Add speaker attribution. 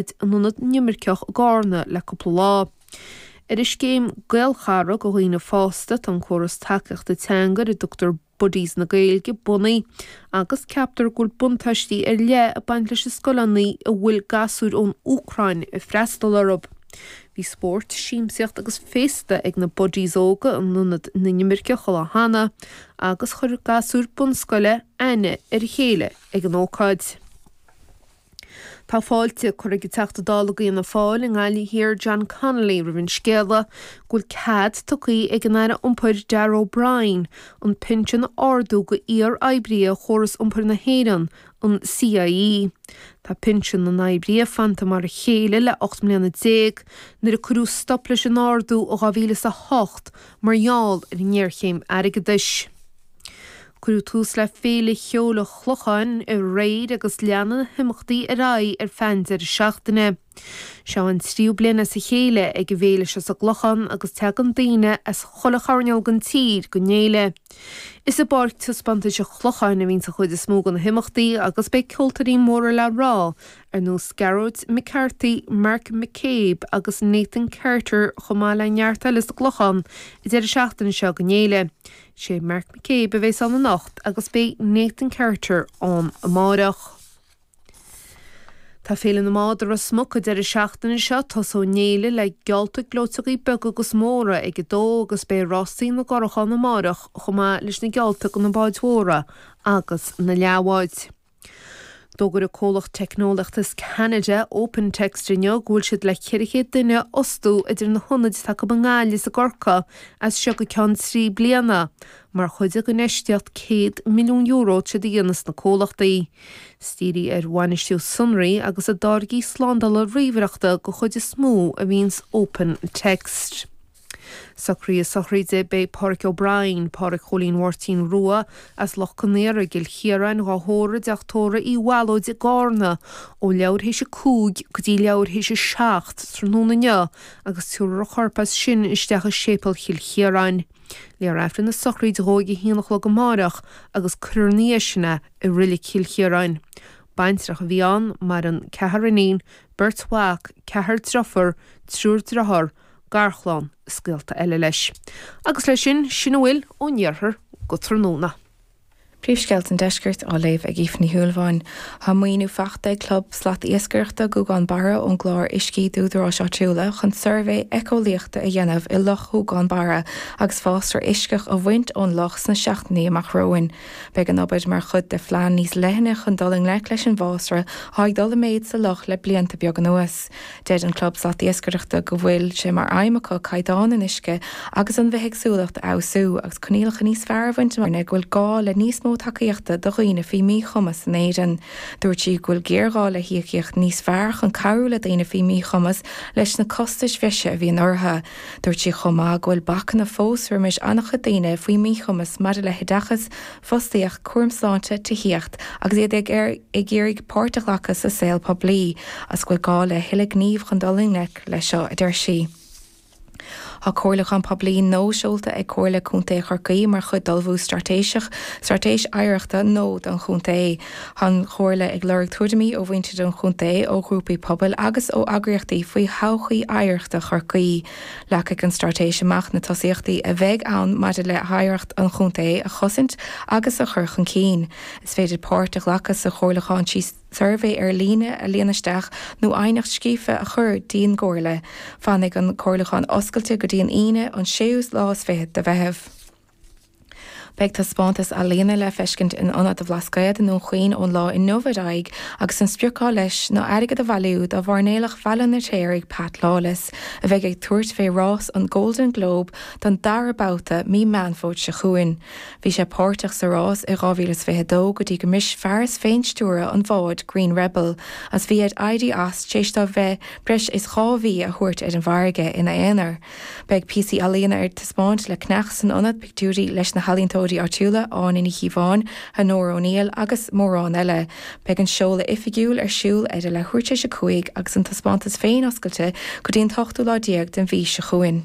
Speaker 1: In Ionad na nImirceach i gCarna le cúpla lá. Ar an scéim Gaelchara do dhaoine fásta tá an córas tacaíochta teanga ar a dtugtar Buddies na Gaeilge bunaithe agus ceaptar go bhfuil buntáistí ar leith ag baint leis na scoileanna a bhfuil gasúir ón Úcráin ag freastal orthu. Bhí spórt, siamsaíocht agus féasta ag na Buddies óga in Ionad na nImirceach an lá cheana agus chuir gasúir bunscoile aithne ar a chéile ag an ócáid. Tá fáilte curtha ag an Teachta Dála d'Fhianna Fáil i nGaillimh Thiar John Connolly roimh an scéala go bhfuil cead tugtha ag an Aire Iompair Darragh O'Brien an pinsean a ardú go iar-oibrithe Chóras Iompair na hÉireann, an CIE. Tá pinsean na n-oibrithe fanta mar a chéile le 18 mbliana nuair a cuireadh stop leis an ardú i 2008 mar gheall ar an ngéarchéim airgeadais. Cuireadh tús le Féile Cheoil an Chlocháin aréir agus leanfaidh na himeachtaí ar aghaidh ar feadh an deireadh seachtaine. Seo an tríú bliain as a chéile ag an bhféile seo sa gClochán agus tagann daoine as chuile choirnéal den tír don fhéile. Is i bPáirc Taispeántais an Chlocháin a bhíonns an chuid is mó de na himeachtaí agus beidh ceoltóirí móra le rá ar nós Gearóid McCarthy, Mark McCabe agus Nathan Carter chomh maith le neart eile sa gClochán an deireadh seachtaine seo don fhéile. Sé Mark McCabe a bheas ann anocht agus beidh Nathan Carter ann amáireach. Tá Féile na mBád i Ros Muc an deireadh seachtaine seo. Tosóidh an fhéile le geallta gleoiteogaí beaga agus móra ag 2 agus beidh rásaí na gcurach ann amáireach chomh maith leis na geallta do na báid mhóra agus na leathbháid. D'fhógair an comhlacht teicneolaíochta as Ceanada, OpenText inniu go bhfuil siad le 400 duine a fhostú idir na hionaid atá acu i nGaillimh is i gCorcaigh as seo go ceann 3 bliana mar chuid den infheistíocht €100 milliún atá siad a dhéanamh sna comhlachtaí. Is dírithe ar bhainistiú sonraí agus a dtáirgí slándála ríomhaireachta den chuid is mó a bhíonns OpenText. Socruithe sochraide Beidh Páraic O'Brien, Páraic Chóilín Mháirtín Rua, as Loch Con Aora i gCill Chiaráin, dhá thórramh i dTeach Tórraimh Uí Mhalóid i gCarna ó leathuair théis a 5 go dtí leathuair théis a 7 tráthnóna inniu agus tabharfar a chorp as sin isteach i Séipéal Chill Chiaráin. Léifear Aifreann na sochraide dhó ag a haon a chlog amáireach agus cuirfear ina dhiaidh sin é i Reilig Chill Chiaráin. Baintreach a bhí ann, maireann ceathrar iníon, beirt mhac, ceathrar driofúr, triúr driotháir, garchlann is gaolta eile leis. Agus leis sin, sin a bhfuil ón iarthar go tráthnóna.
Speaker 2: Príomhscéalta an Deiscirt á léamh ag Aoife Ní Shúilleabháin. Tá maoiniú faighte ag Club Slat Iascaireachta Ghúgán Barra ón gclár Uiscí d'Údaráis Áitiúla chun suirbhé éiceolaíochta a dhéanamh i Loch Ghúgán Barra agus fásra uisceach a bhaint ón loch sna seachtainí amach romhainn. Beidh an obair mar chuid de phlean níos leithne chun dul i ngleic leis an bhfásra atá ag dul i méid sa loch le blianta beaga anuas. Deir an Club Slatiascaireachta go bhfuil sé mar aidhm acu caighdeán an uisce agus an bhithéagsúlacht a fheabhsú agus coinníollacha níos fearr a bhaint amach go bhfuil gá le níos mó tacaíochta do dhaoine faoi mhíchumas in Éirinn. Dúirt sí go bhfuil géarghá le híocaíocht níos fearr chun cabhrú le daoine faoi mhíchumas leis na costais bhreise a bhíonn orthu. Dúirt sí chomh maith go bhfuil bacanna fós roimis an-chuid daoine faoi mhíchumas maidir le hoideachas, fostaíocht, cúram sláinte, tithíocht, agus iad ag ag iarraidh páirt a ghlacadh sa saol poiblí, agus go bhfuil gá le thuilleadh gnímh chun dul i ngleic leis seo, a deir sí. Tá comhairliúchán poiblí nua seolta ag Comhairle Contae Chorcaí mar chuid d'ullmhú straitéiseach Straitéis Oidhreachta nua don chontae. Tá an Chomhairle ag lorg tuairimí ó mhuintir an chontae, ó ghrúpaí pobail agus ó eagraíochtaí faoi thodhchaí oidhreachta Chorcaí. Leagfaidh an straitéis amach na tosaíochtaí a bheidh ann maidir le hoidhreacht an chontae a chosaint agus a chur chun cinn. Is féidir páirt a ghlacadh sa chomhairliúchán trí suirbhé ar líne a líonadh isteach nó aighneacht scríofa a chur dtí'n gComhairle. Fanfaidh an comhairliúchán oscailte go dtí an Aoine an séú lá is fichead de Mheitheamh. Beidh taispeántas ealaíne le feiscint in Ionad an Bhlascaoid i nDún Chaoin ón lá inniu ar aghaidh agus an sprioc atá leis ná airgead a bhailiú do mhairnéalach Bhaile an Fheirtéaraigh Pat Lawless a bheidh ag tabhairt fé rás an Golden Globe don dara babhta mí Meán Fómhair seo chugainn. Bhí sé páirteach sa rás i 2022 go dtí go mbris fearas féinstiúrtha an bháid Green Rebel agus bhí air éirí as tar éis dó bheith breis is dhá mhí a thabhairt ar an bhfarraige ina aonar. Beidh píosaí ealaíona ar taispeáint le ceannach san ionad, pictiúirí leis na healaíontóirí áitiúla, Áine Ní Chíobháin, Honora O'Neill agus mórán eile. Beidh an seoladh oifigiúil ar siúl ar a leathuair tar éis a 5 agus an taispeántas féin oscailte go dtí an t-ochtú lá déag den mhí seo chugainn.